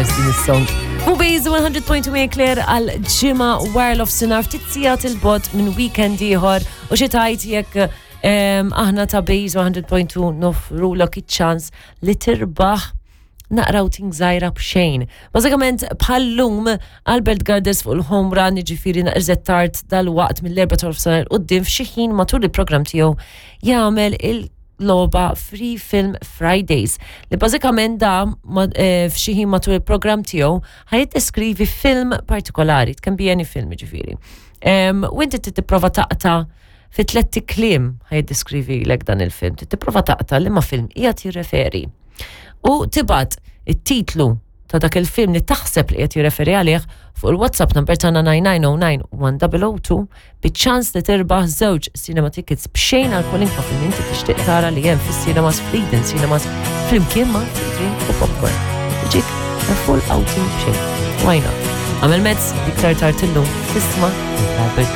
course din is-song. Fubiz 100.2 Claire għal ġimgħa wara l-ofsinhar ftit sigħat il-bot minn weekend ieħor u xi tajt jekk aħna ta' Base 100.2 nofrulok iċ-ċans li tirbaħ naqra outing żgħira b'xejn. Bażikament bħal-lum Albert Gardes fuq il-home run, jiġifieri naqra tard dal-waqt mill-4 tal-ofsinhar quddiem f'xi ħin matul il-programm tiegħu jagħmel il-logħba Free Film Fridays li bażikament da f'xi ħin matul il-programm tiegħu ħa jiddeskrivi film partikolari, it can be any film jiġifieri. U inti tipprova taqta' fi tlett kliem ħa jiddeskrivilek dan il-film, tipprova taqta' liema film qiegħed jirreferi. U tibgħat it-titlu ta' dak il-film li taħseb li qiegħed jirreferi għalih fuq il-WhatsApp number tagħna 9909 biċ-ċans li tirbaħ żewġ cinema tickets b'xejn għal kwalinkwa film inti tixtieq tara li hemm fis-cinemas fl-Eden Cinemas flimkien ma' drink u popcorn. Tiġik a full outing b'xejn. Why not? Għamel mezz iktar tard illum tisma' Albert.